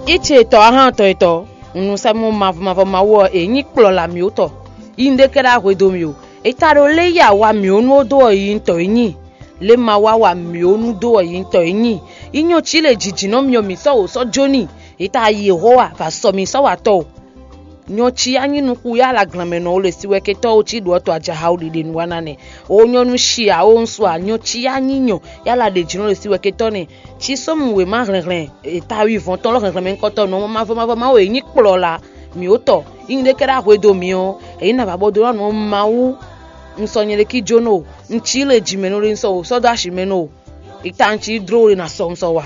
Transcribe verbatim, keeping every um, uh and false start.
Íce tɔ́ ahán tɔn etɔ́, un nu sɛ́ mɔ mavɔ mavɔ Mawu ɔ́, è nyí kplɔla mǐ ó tɔ. Yi un ɖe kɛ́ɖá hwedo mì o. È ta ɖo lé yi awa mǐ ó nú ó dó ɔ́ yi un tɔ é nyi. Lě ma wá wa mǐ ó nú dó ɔ́ yi un tɔ é nyi. Yi nyɔ cí lě jǐjǐnɔ myɔ mǐ sɔ́ wǒ sɔ́ jó n'i. È ta yi Yehova va sɔ mǐ sɔ́ wa tɔ o. Nyɔ cí yá nyí nukún yá la glanmɛ nɔ o le si wɛ ketɔ́ o cí ɖu ɔ́ to ajaha o ɖiɖe nu wa na nɛ. O nyɔ nú shi a o un su a nyɔ cí yá nyí nyɔ yá la ɖe jǐnɔ le si wɛ ketɔ́ nɛ. Cí sɔ́mu wěma hlɛnhlɛn ta wivɔn tɔn lɔ hlɛnhlɛn mɛ nukɔntɔn nɔ mavɔ mavɔ Mawu e nyí kplɔla mǐ ó tɔ. Yi un ɖe kɛ́ɖá hwedo mǐ ɔ́, èyí na va bɔ dó nɔ Mawu. Un sɔ nyɛ ɖe kí jónɔ o. Un cí le jǐmɛ nɔ le un sɔ wǒ sɔ́ dó ashi mɛ nɔ o. È ta un cí dló le na sɔ un sɔ wa.